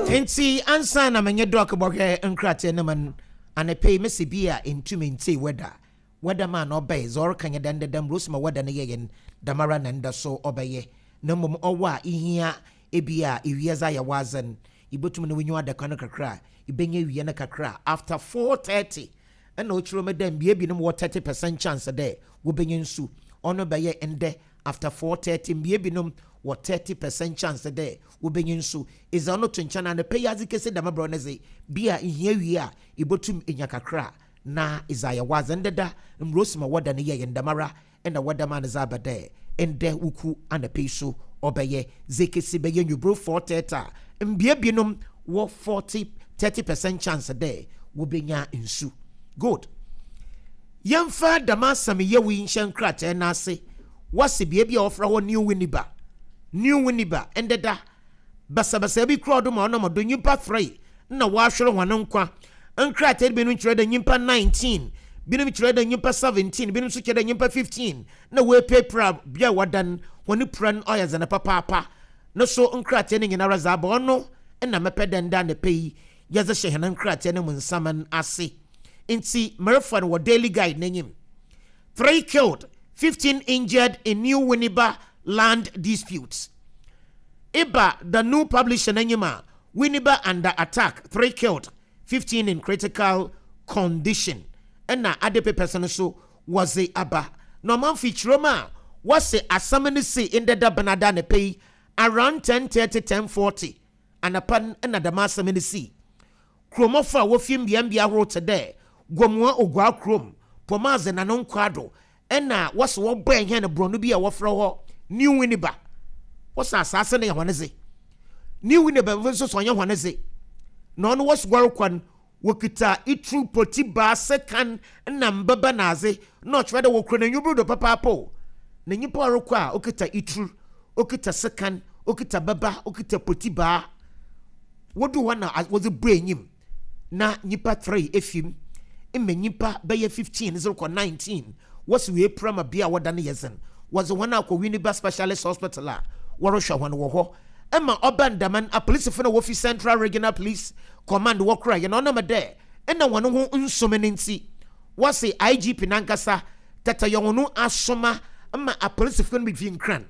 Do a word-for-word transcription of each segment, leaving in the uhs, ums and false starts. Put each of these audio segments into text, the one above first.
Nti ansa na menye Doc bɔhwɛ nkrataa no mu no, anɔpa yi mesi bi a ntumi ntee weather. Weather man ɔbɛyɛ dza ɔreka nye dɛ ndɛ dɛm Rosema weather no yɛyɛ no dɛmara na ndɛ so ɔbɛyɛ. Na mmom ɔwɔ a ihia ebi a ewiadze ayɛ w'adze no, ibotum na w'enyiwa ada kwan no kakra a, ibenya ewia no kakra after four thirty. Ɛna ɔkyerɛ mu dɛ mbea binom wɔ thirty percent chance dɛ wobɛnya nsu. Ɔno bɛyɛ ndɛ after four thirty, mbea binom wɔ thirty percent chance dɛ wobɛnya nsu. Ɛdza ɔno to nkyɛn a, ne pɛ yi adze kɛse dɛm abrɛ no dze bi a ihia wie a ibotum enya kakra na ɛdza ayɛ w'adze. Ndeda mbrosima wɔda no yɛyɛ ndɛmara ɛna wɔda ma no dze aba dɛ ndɛ wuku anapɛ yi so ɔbɛyɛ dze kɛse bɛyɛ nwuburo four thirty a, mbea binom wɔ forty thirty percent chance dɛ wobɛnya nsu. Good, yɛmfa dɛm asɛm yɛwo yi nhyɛ nkrataa no ase. Wɔse bea bi a wɔfrɛ hɔ New Winneba, New Winneba, ndeda basabasa bi kura ɔdo ma ɔnam do nyimpa three na wɔahwere hɔn nkwa. Nkrataa binom kyerɛ dɛ nyimpa nineteen, binom kyerɛ dɛ nyimpa seventeen, binom nso kyerɛ dɛ nyimpa fifteen na wɔapirapira. Bea a wɔdan hɔn pira no ɔyɛ dzen papaapa no so. Nkrataa no nyinara dze aba, ɔno na mɛpɛ dɛ nda anɔpa yi yɛdze hyɛ hɛn nkrataa no mu nsaman ase. Nti merefa no wɔ Daily Guide n'enyim: three killed, fifteen injured in New Winneba land disputes. Iba the New Publisher n'enyim a, Winneba under attack, three killed, fifteen in critical condition. Ɛna ade papers no so wɔdze aba na ɔmanfo kyerɛ mu a, wɔse asɛm no si ndɛda benada ne pɛ yi around ten thirty, ten forty anapa ɛna dɛm asɛm no si. Kuromɔfo a wofi mbeambea ahorow te dɛ Gomoa Ogua kurom, Pomadze, Nano Nkwado, ɛna wɔse wɔbɔ ɛhɛn borɔno bi a wɔfrɛ hɔ New Winneba. Wɔsɛ asase no yɛ hɔn dze, New Winneba nso sɛ ɔnyɛ hɔn dze, na ɔno wɔso wɔrekɔ no wɔkita itru, poti, baase kan na mbɛbɛ naadze, na ɔkyerɛ dɛ wɔkura n'enyi do papaapa o. Na nyimpa a ɔrekɔ a okita itru, okita sekan, okita bɛba, okita poti baa, wodu hɔ na wɔdze bɔ enyim na nyimpa three efim mma nyimpa bɛyɛ fifteen zero kɔ nineteen. Wɔsi wɔ epura ma bea a wɔda no yɛ dzen. Wɔdze wɔn akɔ Winneba Specialist Hospital a wɔrehwɛ wɔn wɔ hɔ. Ɛma ɔba ndaman apolisifo na wofi Central Regional Police Command wɔkora yɛn ɔnam dɛ ɛna wɔn ho nsom ne nti, wɔsi I G P nankasa tata yɛn ho asoma ma apolisifo no bi fi Nkran.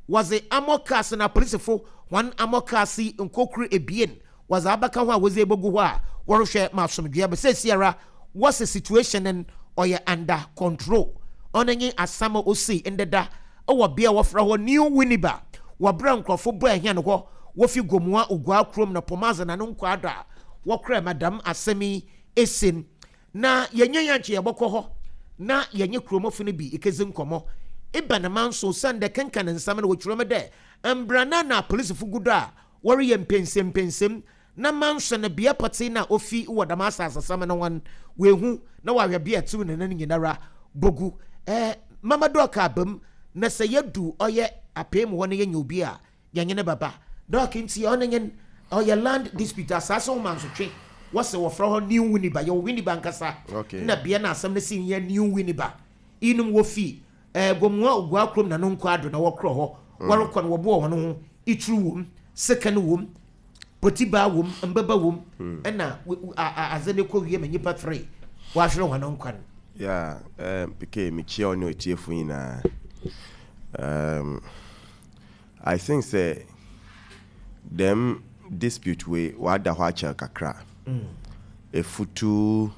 Wɔdze armour cars na apolisifo wɔn armour cars yi nkokuru ebien wɔdze abaka ho a wɔdze ebogu hɔ a wɔrehwɛ ma asomdwoeɛ bɛ. Sɛsiara wɔsɛ situation no ɔyɛ under control. Ɔno nye asam a osi ndeda ɛwɔ bea a wɔfrɛ hɔ New Winneba, wɔbrɛ nkurɔfo bɔ ɛhɛn hɔ wofi Gomoa Ogua kurom na Pomadze na no nkwaado a wɔkora madam asɛm yi esin. Na yɛnyɛ yɛn nkyɛn yɛbɔkɔ hɔ na yɛnyɛ kuromɔfo no bi ekedzi nkɔmɔ eba ne man so san dɛ kenkan nsɛm no wɔtwerɛ mu dɛ mbrana na apolisifo gu do a wɔreyɛ mpɛnsɛmpɛnsɛm na manso no bea pɔtee na ofi wɔ dɛm asasesɛm no wɔn wehu na wahwɛ bea tiw ne nan nyinara bogu. ɛɛ mama Doc abam na sɛ yɛdu ɔyɛ apee mu hɔ no, yɛnya obi a yɛnyɛ ne baba Doc. Nti ɔno nye ɔyɛ land dispute, asase ho mansotwe. Wɔsɛ wɔfrɛ hɔ New Winneba. Yɛwɔ Winneba nkasa Okay. na bea na asɛm no si yɛ New Winneba. Inom wofi ɛɛ Gomoa Ogua kurom na no nkɔ ado na wɔkorɔ hɔ wɔrekɔ no, wɔboɔ wɔn ho ituru wom, sekan wom, potibaa wom, mbɛba wom, ɛna w- w- a- a- adze ne kɔ wie ma nyimpa three wɔahwere wɔn nkwa no. Yeah, um, P K, mekyia wo ne otiefo nyinaa. Um, I think sɛ dɛm dispute wei wada hɔ akyɛr kakra. Efutu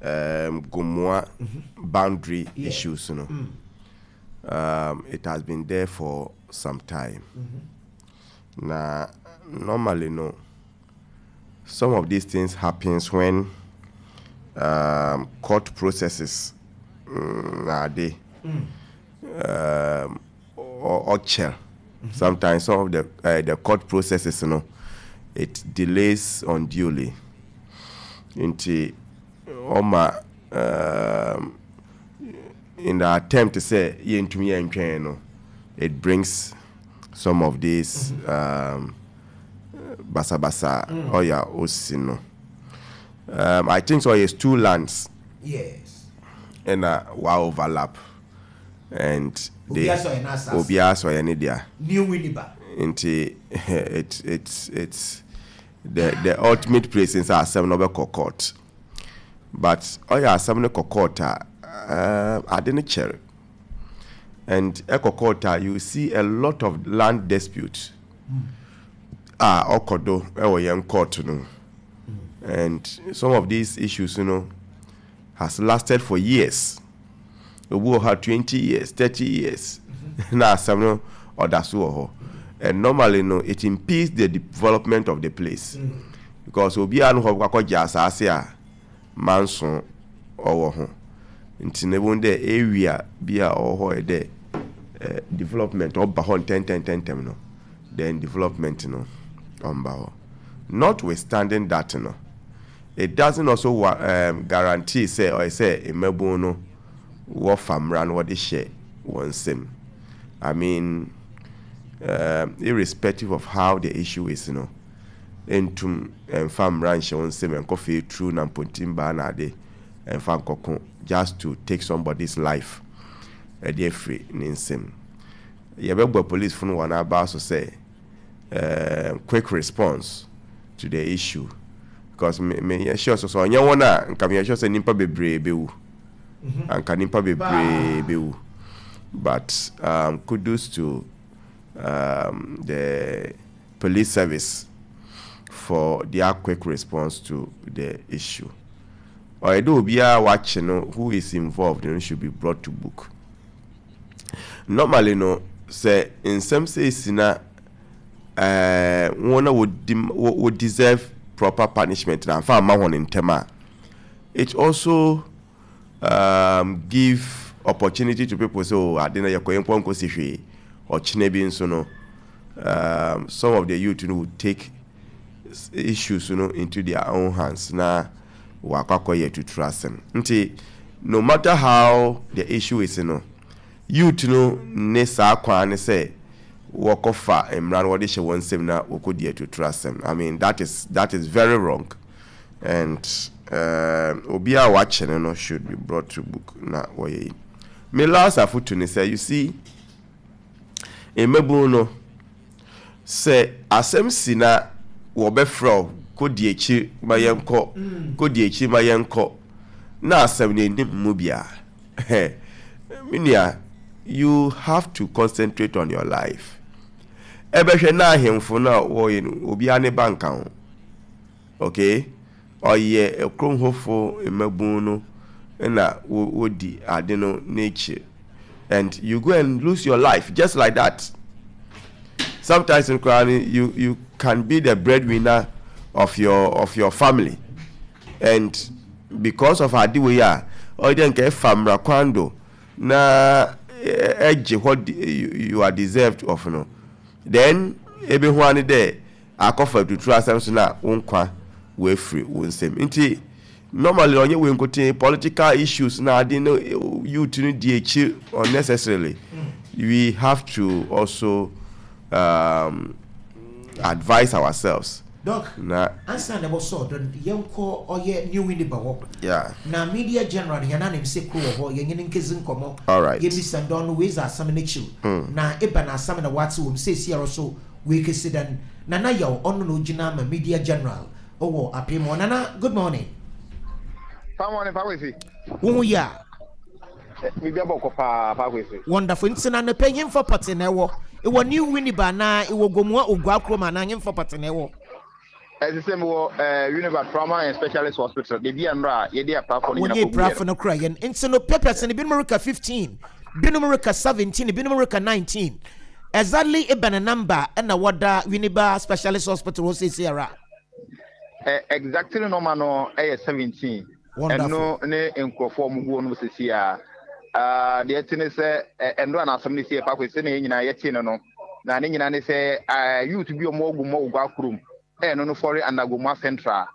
um, Gomoa boundary Yeah. issues no. Um, it has been there for some time. Na normally no, some of these things happens when um, court processes mm, na ade um, or ɔkyɛr. Sometimes some of the uh, the court processes no, it delays unduly. Nti ɔma um, in the attempt to say yɛntumi yɛntwɛn no, it brings some of these um, basabasa ɔyɛ osi no. um, I think so ɔyɛ two lands yes ɛna wa overlap and they Obiara sɛ ɔyɛ n'asase. Obiara sɛ ɔyɛ ne dea. New Winneba. Nti it's it's it's the the ultimate place is asɛm no bɛkɔ court, but ɔyɛ asɛm no kɔ court a, uh, ade no kyɛre, and ɛkɔ court a, you see a lot of land dispute a ɔkɔ do ɛwɔ yɛn court no, and some of these issues you know has lasted for years. Obi wɔ ha twenty years, thirty years na asɛm no ɔda so wɔ hɔ, and normally no, it impedes the development of the place mm. because obiara no hɔ akɔgye asase a manso ɔwɔ ho. Nti na ebi dɛ area bi a ɔwɔ hɔ yɛ dɛ eh, development ɔba hɔ ntɛntɛntɛntɛm no, then development no ɔmba hɔ. Notwithstanding that no, it doesn't also um, guarantee sɛ ɔyɛ sɛ mmabun no wɔfa mmara no wɔde hyɛ wɔn nsam. I mean, um, irrespective of how the issue is no, ntum mfa mmara nhyɛ wɔn nsam nkɔfɛ eturu na mpontin baa na ade mfa nkɔko just to take somebody's life ɛde afiri ne nsam. Yɛbɛbɔ police fo no wɔn aba so sɛ uh, quick response to the issue, because me me yɛ sure so so ɔnyɛ wɔn a, nka me yɛ sure sɛ nipa bebree bɛwu, anka nipa bebree bɛwu. But um, kudos to um, the police service for their quick response to the issue. Ɔyɛ dɛ obiara wakye no who is involved no should be brought to book. Normally no, sɛ nsɛm sɛ esi na ɛɛ wɔn a wɔdi wɔ deserve proper punishment na nfa ama wɔn ntɛm a, it also um, give opportunity to people say, "Oh, ade na yɛkɔ yɛn mpɔ nkosi hwee." Ɔkyena bi nso no, um, some of the youth no would take issues no into their own hands na wakɔ akɔyɛ tuturu asɛm. Nti no matter how the issue is no, youth no ne saa kwan ne sɛ wɔkɔfa mmara no wɔde hyɛ wɔn nsam na wɔkɔdi atuturu asɛm, I mean, that is that is very wrong, and uh, obi a wakye no no should be brought to book na wɔyɛ yi. Me last afotu ne sɛ, you see, mmabun no, sɛ asɛm si na wɔbɛfrɛ wo kɔdi akyi ma yɛnkɔ, kɔdi akyi ma yɛnkɔ, na asɛm no anim mu bia, me nua, you have to concentrate on your life. Ɛbɛhwɛ na ahemfo no a wɔyɛ no, obiara ne ba nka ho. Okay, ɔyɛ kurom hɔfo mmabun no na wɔdi ade no n'akyi, and you go and lose your life just like that. Sometimes in koraa you you can be the breadwinner of your of your family, and because of ade wei a ɔyɛ dɛ nka ɛfa mmara kwan do na ɛgye what you are deserved of no, then ebe ho ani dɛ akɔfa tuturu asɛm so na wo nkwa wafiri wo nsam. Nti normally ɔnyɛ wei nkoten, political issues na ade no, youth no di akyi unnecessarily. We have to also um, advise ourselves. Doc, na ansa na ɛbɔ ɔdɔ, yɛnkɔ ɔyɛ New Winneba hɔ yeah na media general yɛn anim sɛ kuro wɔ hɔ, yɛnyɛ ne nkezi nkɔmmɔ. All right. Yɛmisa ndɔn no wei dze asɛm no akyiw na eba na asɛm na wate wɔ mu seesi ara so wei kesi dan. Nana Yaw, ɔno na ogyina ama media general ɔwɔ Apem hɔ. Nana, good morning. Paa morning, Paa Kwesi. Wo ho yɛ a? Biribi abɔ kɔ paa, Paa Kwesi. Wonderful. Nti na nepɛ hemfa pɔte na ɛwɔ ɛwɔ New Winneba anaa ɛwɔ Gomua Ogua kurom anaa hemfa pɔte na ɛwɔ? Ɛsɛ sɛ mewɔ ɛɛ Winneba Trauma and Specialist Hospital, beebi a nnora a yɛde aprafo no nyina wɔnyɛ kɔ prafo no kora yɛn. Nti no papers no, binom reka fifteen, binom reka seventeen, binom reka nineteen. Exactly ebɛn number ɛna wɔda Winneba Specialist Hospital hɔ seesei ara? Ɛ exactly number no ɛyɛ seventeen. Wonderful. Ɛno ne nkurɔfoɔ a wɔn gu hɔ nom sisi a aa deɛ ɛte ne sɛ ɛ nnora na asɛm no si yɛ, Paa Kwesi, sɛ na yɛn nyinaa yɛte no no na ne nyinaa ne sɛ ɛɛ youth bi a wɔn wɔ Gomua Ogua kurom, ɛno no fɔre under Gomua Central.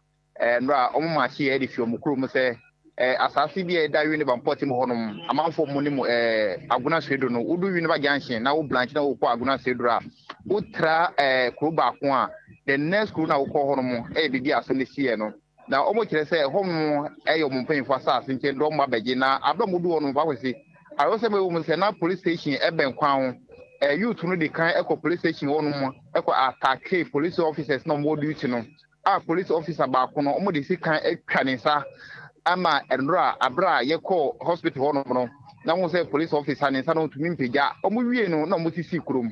Ɛɛ nnora wɔn maakye yɛ de fi wɔn kurom sɛ ɛɛ asase bi a ɛda Winneba mpɔtam hɔnom, amanfoɔ mu ne mu ɛɛ Agona Swedru no, wodu Winneba Junction na wo branch na wokɔ Agona Swedru a, wotra ɛɛ kuro baako a, the next kuro na wokɔ hɔnom ɛyɛ biribi a asɛm no si yɛ no, na wɔn kyerɛ sɛ hɔnom ɛyɛ wɔn mpanyinfoɔ asase nkyɛn dɔm ba bɛgye. Na abɛ mo du hɔnom, Paa Kwesi, ayɔsɛm ɛwɔ mu sɛ na police station ɛbɛn kwan ho. Ɛɛ youth no de kan ɛkɔ police station hɔnom, ɛkɔ attack police officers na wɔn wɔ duty no. A police officer baako no, ɔmo de sikan atwa ne nsa ama nnora abere a yɛkɔ hospital hɔnom no, na wɔn sɛ police officer ne nsa no ntumi mpagya. Ɔmo wie no na ɔmo sisi kurom,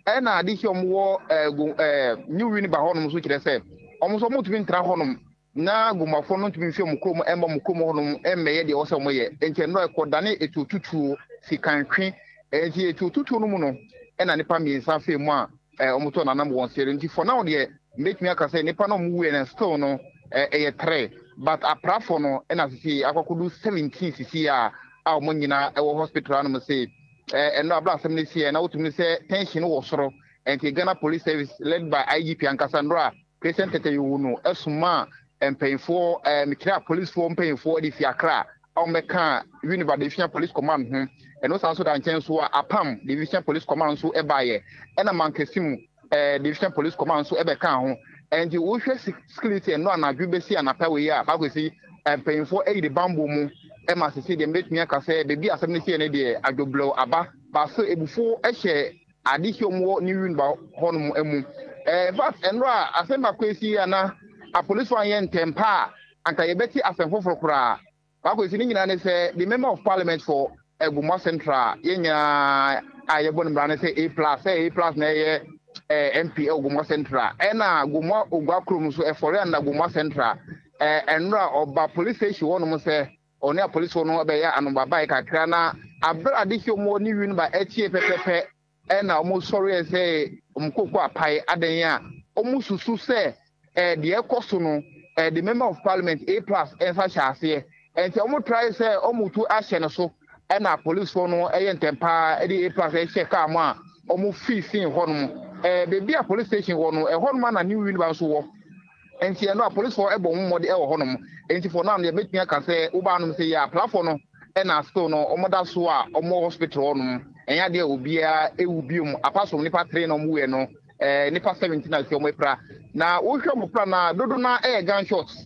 ɛna ade hyɛ ɔmo wɔ ɛɛ go ɛɛ New Winneba hɔnom nso, kyerɛ sɛ ɔmo nso ɔmo ntumi ntra hɔnom na Gomoafoɔ no ntumi nfi ɔmo kurom ɛmba ɔmo kurom hɔnom ɛmmɛyɛ deɛ ɔsɛ ɔmo yɛ. Nti nnora ɛkɔ dane etuo tutuo sikantwe. Nti etuo tutuo no mu no, ɛna nipa mmiɛnsa fɛ mu a ɛɛ ɔmo tɔ nanam wɔn sere. Nti for now deɛ, mbɛtumi aka sɛ nipa no ɔmo wuiɛ no still no ɛɛ ɛyɛ three, but aprafo no ɛna sisi akɔkɔdo seventeen sisi a a wɔn nyinaa ɛwɔ hospital anom sɛ ɛɛ ɛno abira asɛm no si yɛ na wotumi sɛ tension wɔ soro. Nti Ghana Police Service led by I G P ankasa nnora Christian Tetteh Yohuno ɛsoma mpanyinfoɔ, ɛɛ mekyerɛ apolisifoɔ mpanyinfoɔ de fi Akra a wɔbɛka Winneba Division Police Command ho. Ɛno san so da nkyɛn so a, Apam Division Police Command nso ɛbaayɛ, ɛna Mankesimu ɛɛ Division Police Command nso ɛbɛka ho. Nti wohwɛ security ɛno anadwo bɛsi anapa wei a baako si mpanyinfoɔ ɛyi de bambɔ mu ɛma sisi deɛ, mbɛtumi aka sɛ beebi asɛm no si yɛ no deɛ, adwoblɛw aba baasa, ebufuo ɛhyɛ adehyɛ mu wɔ New Winneba hɔnom mu. ɛɛ in fact, ɛnora asɛm baako esi ana apolisifoɔ anyɛ ntɛmpa a, anka yɛbɛte asɛm foforɔ koraa. Baako esi ne nyinaa ne sɛ the Member of Parliament for Gomoa Central, yɛn nyinaa a yɛbɔ ne mmara ne sɛ A Plus, sɛ A Plus na ɛyɛ ɛɛ M P ɛwɔ Gomoa Central, ɛna Gomoa Ogua kurom nso ɛfɔre ana Gomoa Central. ɛɛ ɛnora ɔba police station hɔnom sɛ ɔne apolisifoɔ no bɛyɛ anobabae kakra, na abere adehyɛ mu ne Winneba ɛkyie pɛpɛpɛ, ɛna wɔn sɔre sɛ wɔn koko apae adan a wɔn susu sɛ ɛɛ deɛ ɛkɔ so no, ɛɛ the Member of Parliament A Plus ɛnsa hyɛ aseɛ. Nti wɔn try sɛ wɔn tu ahyɛ no so, ɛna apolisifoɔ no ɛyɛ ntɛmpaa ɛde A Plus ɛhyɛ kaa mu a wɔn fi sin hɔnom. ɛɛ beebi a police station wɔ no, ɛhɔnom ana New Winneba nso wɔ. Nti ɛno apolisifoɔ ɛbɔ wɔn mmɔde ɛwɔ hɔnom. Nti for now deɛ, mɛtumi aka sɛ wobaa nom sɛ yɛ aplafoɔ no ɛna still no wɔn da so a wɔn wɔ hospital hɔnom. Ɛnyɛ adeɛ a obiara ewu biom apart from nipa three na wɔn wuyɛ no. ɛɛ nipa seventeen a si wɔn apira, na wohwɛ wɔn pra na dodo na ɛyɛ gunshots,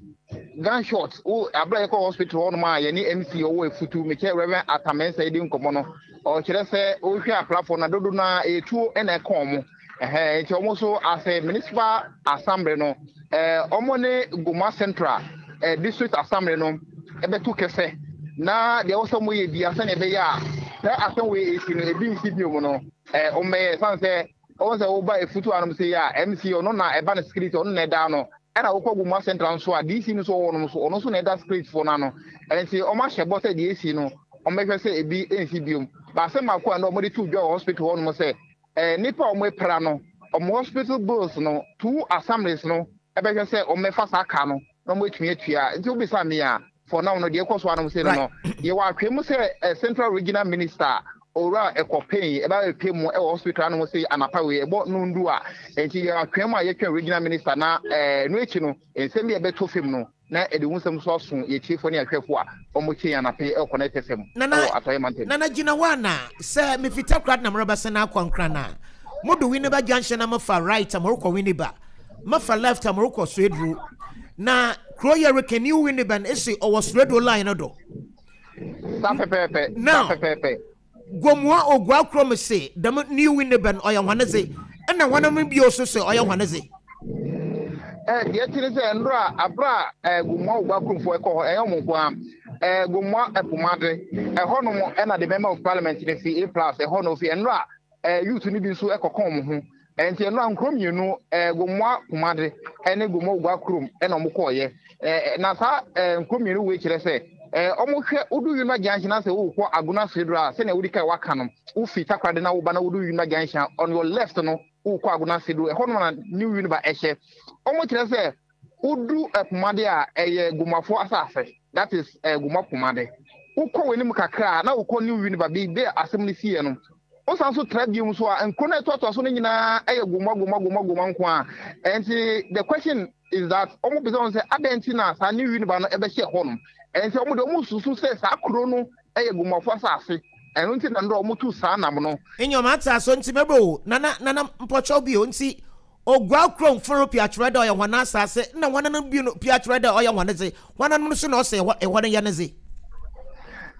gunshots. Wo abira yɛ kɔ hospital hɔnom a yɛne M C ɔwɔ Efutu, mekyɛ Reverend Atamensa, yi di nkɔmɔ no, ɔkyerɛ sɛ wohwɛ aplafoɔ na dodo na etuo ɛna ɛka wɔn ɛhɛn. Nti wɔn nso asɛ Municipal Assembly no, ɛɛ wɔn ne Gomoa Central ɛɛ District Assembly no ɛbɛto kɛsɛ na deɛ wɔsɛ wɔn yɛ bia sɛnea ɛbɛyɛ a sɛ asɛm wei esi no ebi nsi bio mu no, ɛɛ wɔn bɛyɛ san sɛ wɔn sɛ wɔba Efutu anom sɛ yɛ a M C ɔno na ɛba no security, ɔno na ɛda no, ɛna wokɔ Gomoa Central nso a D C no nso wɔ nom so, ɔno nso na ɛda security foɔ no ano. Ɛnti wɔn ahyɛ bɔ sɛ deɛ esi no, wɔn bɛhwɛ sɛ ebi nsi biom. Baasɛm baako a na wɔde to dwa wɔ hospital hɔ nom sɛ ɛɛ nipa a wɔn apira no, wɔn hospital bills no, two assemblies no ɛbɛhwɛ sɛ wɔn bɛfa saa kaa no na wɔn atumi atua. Nti wobisa mi a, for now no, deɛ ɛkɔ so anom sɛ no no yɛwɔ atwɛ mu sɛ ɛ Central Regional Minister Owura Ekow Payne ɛbɛ ɛpɛ mu ɛwɔ hospital anom sɛ anapa wei ɛbɔ nundu a. Nti yɛ atwɛ mu a yɛtwɛn regional minister na ɛɛ no akyi no, nsɛm bi a ɛbɛtɔ fam no na ɛde ho nsɛm so aso yɛtiefoɔ ne ahwɛfoɔ a wɔn kyɛ yɛn anapɛ ɛwɔ Connect F M ɛwɔ Atɔyɛ Mantam. Nana, gyina hɔ ana sɛ mefita kora na merebɛsɛ no akɔ Nkra no a, modo Winneba Junction na mofa right a morekɔ Winneba, mofa left a morekɔ Soeduro, na kuro yɛ reka New Winneba no ɛsi ɔwɔ Soeduro line no do. Saa pɛpɛɛpɛ. Now, saa pɛpɛɛpɛ. Gomoa Ogua kurom se dɛm New Winneba no ɔyɛ hwane dze, ɛna hwanom bio so sɛ ɔyɛ hwane dze. Ɛ deɛ ti ne sɛ nnora abira ɛ Gomoa Ogua kuromfoɔ ɛkɔ hɔ, ɛyɛ ɔmo nko a ɛ Gomoa Ɛpomade ɛhɔnom, ɛna the Member of Parliament ne fi A Plus ɛhɔ no fi. Nnora ɛ youth no bi nso ɛkɔkɔ ɔmo ho. Nti nnora nkuro mmienu, ɛ Gomoa Pomade ɛne Gomoa Ogua kurom ɛna ɔmo kɔɔyɛ. ɛ na saa ɛ nkuro mmienu wei kyerɛ sɛ ɛ ɔmo hwɛ wodu Winneba Junction na sɛ wokɔ Agona Swedru a, sɛnea wodi kan waka no, wofi Takoradi na woba na wodu Winneba Junction, on your left no wokɔ Agona Swedru, ɛhɔ nom na New Winneba ɛhyɛ. Ɔmo kyerɛ sɛ wodu Ɛpomade a, ɛyɛ Gomoafoɔ asase, that is ɛ Gomoa Pomade. Wokɔ w'anim kakra a na wokɔ New Winneba, baabi a asɛm no siiɛ no. Wosan so tra bio so a, nkuro no ɛtoatoa so no nyinaa ɛyɛ Gomoa, Gomoa, Gomoa, Gomoa nko a. Ɛnti the question is that ɔmo bisa wɔn sɛ adɛn nti na saa New Winneba no ɛbɛhyɛ hɔ nom? Ɛnti ɔmo de ɔmo susu sɛ saa kuro no ɛyɛ Gomoafoɔ asase, ɛno nti na ndɔ ɔmo tu saa nam no. Enyɔma ata so nti mɛbɛ o. Nana, Nana, mpɔkyɛw bio, nti Ogua kurom foro pia kyerɛ dɛ ɔyɛ hɔn asase, na hɔn no bi no pia kyerɛ dɛ ɔyɛ hɔn dze, hɔn no nso na ɔsɛ ɛhɔ ɛhɔ no yɛ ne dze?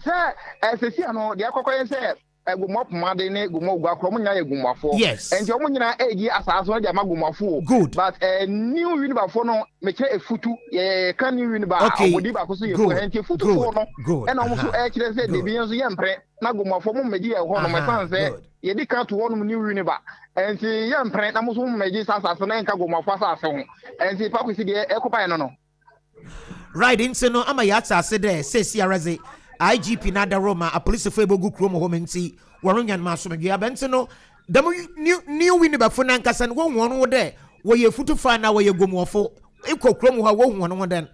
Sɛ ɛsɛsi ano deɛ akɔkɔ yɛ sɛ Gomoa Pomade ne Gomoa Oguaa ɔmo nyinaa yɛ Gomoafoɔ. Yes. Nti ɔmo nyinaa ɛgye asase no de ama Gomoafoɔ. Good. But uh, New Winneba no, mekyerɛ Efutu, yɛka New Winneba a, ɔmodi baako so yɛ fu, nti Efutufoɔ no ɛna ɔmo nso ɛkyerɛ sɛ debi nso yɛ mpere na Gomoafoɔ mo mmɛgye yɛ hɔ nom, ɛsan sɛ yɛdi ka to hɔ nom New Winneba, nti yɛ mpere na mo nso mo mmɛgye saa asase no, ɛnka Gomoafoɔ asase ho. Nti Pakwesi, deɛ ɛkɔbaeɛ no no Right, nti no ama yɛate ase dɛ seesi ara dze I G P n'adaro ma apolisifoɔ ebogu kurom hɔ, nti wɔrenyan ma asomdwe aba. Nti no dɛm new new Winnebafo nankasa no, wɔn wɔn ho dɛ wɔyɛ futufo anaa wɔyɛ gomuɔfo ekɔ kurom hɔ a, wɔhu wɔn ho dɛn?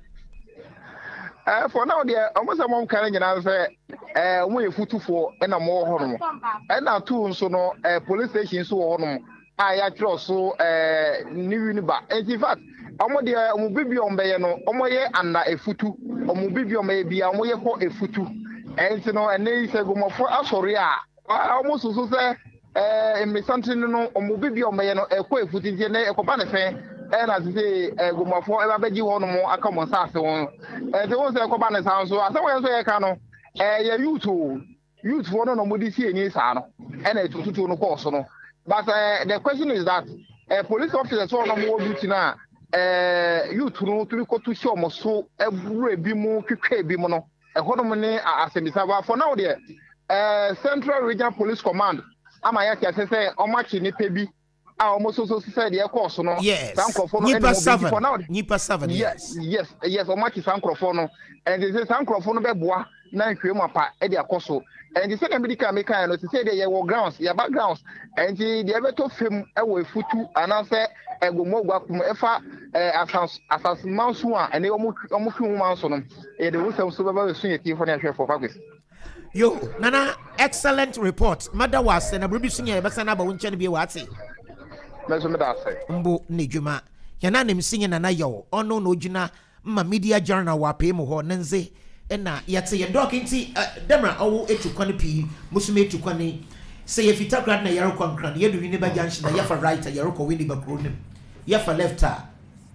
ɛɛ for now deɛ, ɔmo sɛ ɔmo ka no nyinaa sɛ ɛɛ ɔmo yɛ futufoɔ ɛna ɔmo wɔ hɔnom, ɛna two nso no, ɛɛ police station nso wɔ hɔnom a yɛatwerɛ so ɛɛ New Winneba. Nti in fact, ɔmo deɛ, ɔmo bibi a ɔmo bɛyɛ no, ɔmo yɛ anda Efutu. Ɔmo bibi a ɔmo bɛyɛ bia, ɔmo yɛ kɔ Efutu. Ɛnti no, ɛnɛ yi sɛ Gomɔfo asɔre a, ɔmo soso sɛ ɛɛ mmesanten no, ɔmo bibi a ɔmo bɛyɛ no ɛkɔ Efutu. Nti ɛnɛ ɛkɔba ne fɛn ɛna sise ɛɛ Gomɔfo ɛba bɛgye hɔ nom aka ɔmo nsaase ho. Ɛnti wɔn sɛ ɛkɔba ne saa nso, asɛm wɔn nso yɛka no, ɛyɛ youth o, youth foɔ no na ɔmo de si eni saa no, ɛna etututu no kɔɔ so no. But uh, the question is that uh, police officers wɔn a wɔwɔ duty na uh, youth no tumi kɔtu hyɛ wɔn so, ɛwura ebi mu, twitwa ebi mu no, ɛhɔnom ne asɛmisa. But for now deɛ, uh, Central Regional Police Command ama yɛ ate ase sɛ wɔn akyi nipa bi a wɔn nso so sɛ deɛ ɛkɔɔ so no, yes saa nkurɔfoɔ no nipa ɛna wɔn bi seven for now. Nipa seven. Yes yes yes wɔn akyi saa nkurɔfoɔ no. Ɛnti sɛ saa nkurɔfoɔ no bɛboa na nhwɛ mu apa ɛde akɔ so. Ɛnti sɛdeɛ mede kan meka no, te sɛ deɛ yɛwɔ grounds, yɛba grounds, ɛnti deɛ ɛbɛtɔ fam ɛwɔ Efutu anaasɛ ɛgomo kum ɛfa ɛɛ asas asasemanso a ɛne ɔmo ɔmo fi ho manso no, yɛde wo nsɛm so bɛba bɛso yɛ tiefo ne ahwɛfoɔ, Fakwesi. Yo Nana, excellent report. Mada wɔ ase na biribi so nyɛ, yɛbɛsan aba wo nkyɛn bio, wɔ ate. Mɛso meda ase. Mbo ne dwuma yɛn anim si nyɛ Nana Yɛw, ɔno na ogyina ma media journal wɔ apee mu hɔ ne nze ɛna yɛte yɛn Doc. Nti dɛmra ɔwɔ etu kwan pii, musom etu kwan sɛ yɛfi Takoradi na yɛrekɔ Nkran, yɛdu Winneba Junction na yɛfa right a, yɛrekɔ Winneba kuro nim, yɛfa left a